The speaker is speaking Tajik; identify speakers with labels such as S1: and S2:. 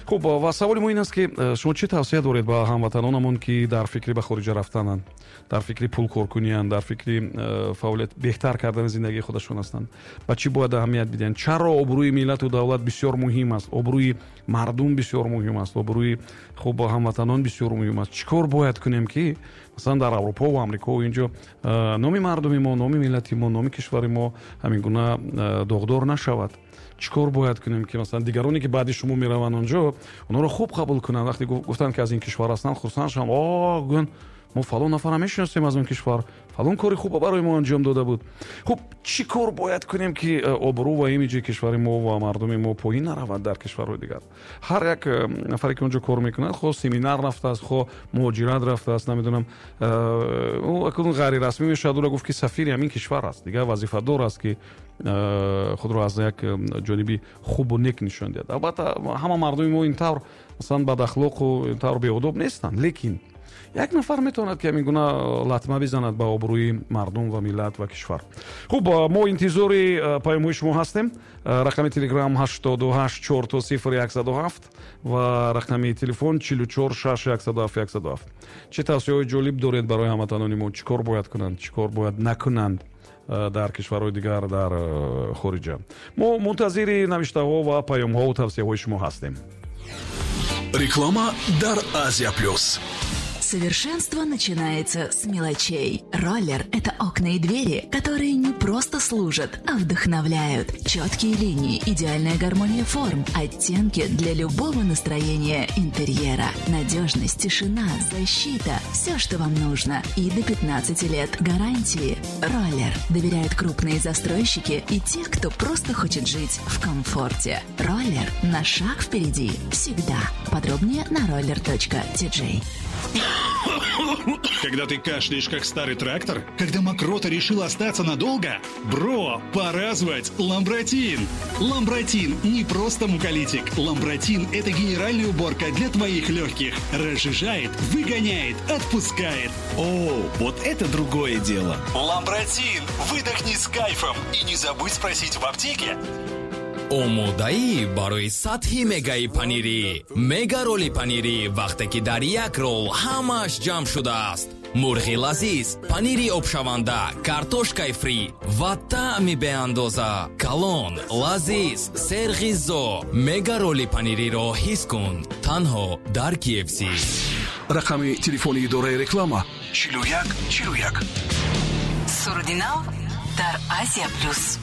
S1: Хуб, ва саволи мо ин аст, ки шумо чӣ тавсия доред ба ҳамватанонамон, ки дар фикри ба хориҷа рафтананд, дар фикри пулкоркунианд, дар фикри фаъолият, беҳтар кардани зиндагии худашон ҳастанд? Ба чӣ бояд аҳамият бидиҳанд? Чаро обрӯи миллату давлат бисёр муҳим аст, обрӯи мардум бисёр муҳим аст, обрӯи, хуб, ҳамватанон бисёр муҳим аст? Чӣ кор бояд кунем, ки масалан дар Аврупо ва Амрико инҷо номи мардуми мо, номи миллати мо, номи кишвари мо ҳамин гуна доғдор нашавад? Чӣ кор бояд кунем, ки масалан дигароне, ки баъди шумо мераванд онҷо, онҳоро хуб қабул кунанд, вақте гуфтанд, ки аз ин кишвар ҳастанд, хурсанд шаванд, о гӯянд, мо фалон нафарро мешиносем аз он кишвар, фалон кори хуб барои мо анҷом дода буд? Хуб, чӣ кор бояд кунем, ки обрӯ ва имиҷи кишвари мо ва мардуми мо поин наравад дар кишварҳои дигар? Ҳар як нафаре, ки онҷо кор мекунад, хоҳ семинар рафтааст, хоҳ муҳоҷират рафтааст, намедонам, ӯ акнун ғайрирасмӣ мешавад ӯро гуфт, ки сафири ҳамин кишвар аст, дигар вазифадор аст, ки худро аз як ҷониби хубу нек нишон диҳад. Албатта, ҳама мардуми мо ин тавр, масалан, бадахлоқу ин тавр беодоб нестанд, лекин як нафар метавонад, ки ҳамин гуна латма бизанад ба обрӯи мардум ва миллат ва кишвар. Хуб, мо интизори паёмҳои шумо ҳастем. Рақами Телеграм 88 00 0107 ва рақами телефон 44 6 107 107. Чӣ тавсияҳои ҷолиб доред барои ҳамватанони мо? Чӣ кор бояд кунанд, чӣ кор бояд накунанд дар кишварҳои дигар, дар хориҷа? Мо мунтазири навиштаҳо ва паёмҳову тавсияҳои шумо ҳастем.
S2: Реклама дар Азия Плюс.
S3: Совершенство начинается с мелочей. Роллер – это окна и двери, которые не просто служат, а вдохновляют. Четкие линии, идеальная гармония форм, оттенки для любого настроения интерьера. Надежность, тишина, защита – все, что вам нужно. И до 15 лет гарантии. Роллер. Доверяют крупные застройщики и те, кто просто хочет жить в комфорте. Роллер на шаг впереди. Всегда. Подробнее на roller.tj.
S4: Когда ты кашляешь, как старый трактор? Когда мокрота решила остаться надолго? Бро, пора звать Ламбратин! Ламбратин не просто муколитик. Ламбратин – это генеральная уборка для твоих легких. Разжижает, выгоняет, отпускает.
S5: О, вот это другое дело.
S4: Ламбратин! Выдохни с кайфом и не забудь спросить в аптеке.
S6: Омодаӣ барои сатҳи мегаи панирӣ, мега роли панирӣ, вақте ки дар як рол ҳамааш ҷамъ шудааст: мурғи лазиз, панири обшаванда, картошкаи фри ва таъми беандоза. Калон, лазиз, серғизо. Мега роли панириро ҳис кун танҳо дар KFC.
S2: Рақами телефони идораи реклама 41 41.
S7: Суруди нав дар Азия Плюс.